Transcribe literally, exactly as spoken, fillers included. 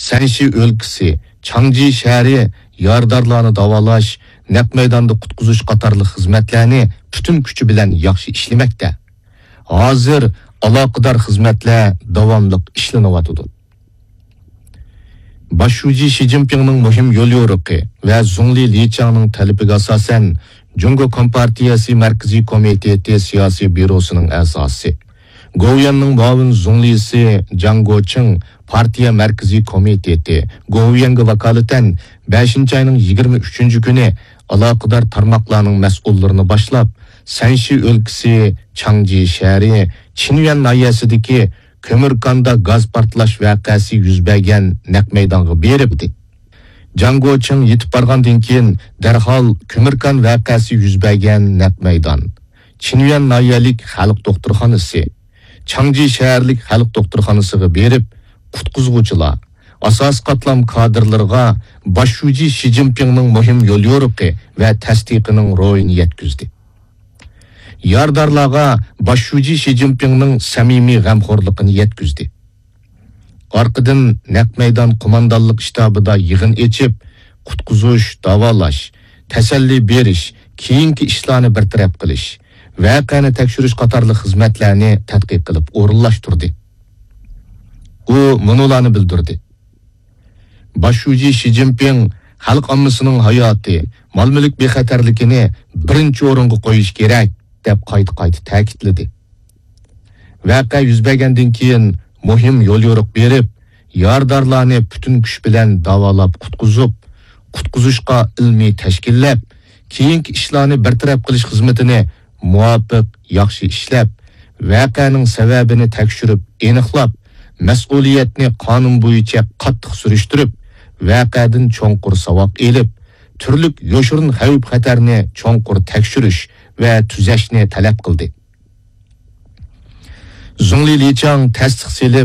سەنشى ئۆلكىسى، چاڭجى شەھىرى يارىدارلارنى داۋالاش، نەق مەيداندا قۇتقۇزۇش قاتارلىق خىزمەتلەرنى پۈتۈن كۈچى بىلەن ياخشى ئىشلىمەكتە. ھازىر ئالاقىدار خىزمەتلەر داۋاملىق ئىشلىنىۋاتىدۇ. باش شۇجى شى جىنپىڭنىڭ مۇھىم يوليورۇقى ۋە زۇڭلى لىچياڭنىڭ تەلىپىگە ئاساسەن، جۇڭگو كومپارتىيەسى مەركىزىي كومىتېتى سىياسىي بيۇروسىنىڭ ئەزاسى، گوۋۇيۈەننىڭ مۇئاۋىن زۇڭلىسى جاڭ گوچىڭ پارتىيە مەركىزىي كومىتېتى گوۋۇيۈەنگە ۋاكالىتەن بەشىنچى ئاينىڭ يىگىرمە ئۈچىنچى كۈنى ئالاقىدار تارماقلارنىڭ مەسئۇللىرىنى باشلاپ، سەنشى ئۆلكىسى، چاڭجى شەھىرى، چىنيۈەن ناھىيەسىدىكى كۆمۈركاندا گاز پارتلاش ۋەقەسى يۈز بەرگەن نەق مەيدانغا بېرىپتۇ. جاڭ گوچىڭ يېتىپ بارغاندىن كېيىن، دەرھال كۆمۈركان ۋەقەسى يۈز بەرگەن نەق مەيدان، چىنيۈەن ناھىيەلىك خەلق دوختۇرخانىسى، چاڭجى شەھەرلىك خەلق دوختۇرخانىسىغا بېرىپ، قۇتقۇزغۇچىلار، ئاساسىي قاتلام كادىرلىرىغا باش شۇجى شى جىنپىڭنىڭ مۇھىم يوليورۇقى ۋە تەستىقىنىڭ روھىنى يەتكۈزدى. يارىدارلارغا باش شۇجى شى جىنپىڭنىڭ سەمىمىي غەمخورلۇقىنى يەتكۈزدى. ئارقىدىن نەق مەيدان قوماندانلىق شتابىدا يىغىن ئېچىپ، قۇتقۇزۇش، داۋالاش، تەسەللى بېرىش، كېيىنكى ئىشلارنى بىر تەرەپ قىلىش، ۋەقەنى تەكشۈرۈش قاتارلىق خىزمەتلەرنى تەتقىق قىلىپ ئورۇنلاشتۇردى. ئۇ مۇنۇلارنى بىلدۈردى. باش شۇجى شى جىنپىڭ خەلق ئاممىسىنىڭ ھاياتى، مال-مۈلۈك بىخەتەرلىكىنى بىرىنچى ئورۇنغا قويۇش كېرەك، دەپ قايتا-قايتا تەكىتلىدى. ۋەقە يۈز بەرگەندىن كېيىن مۇھىم يوليورۇق بېرىپ، يارىدارلارنى پۈتۈن كۈچ بىلەن داۋالاپ قۇتقۇزۇپ، قۇتقۇزۇشقا ئىلمىي تەشكىللەپ، كېيىنكى ئىشلارنى بىر تەرەپ قىلىش خىزمىتىنى مۇۋاپىق، ياخشى ئىشلەپ، ۋەقەنىڭ سەۋەبىنى تەكشۈرۈپ ئېنىقلاپ، مەسئۇلىيەتنى قانۇن بويىچە قاتتىق سۈرۈشتۈرۈپ، ۋەقەدىن چوڭقۇر ساۋاق ئېلىپ، تۈرلۈك يوشۇرۇن خەۋپ-خەتەرنى چوڭقۇر تەكشۈرۈش ۋە تۈزەشنى تەلەپ قىلدى. زۇڭلى لىچياڭ تەستىق سېلىپ،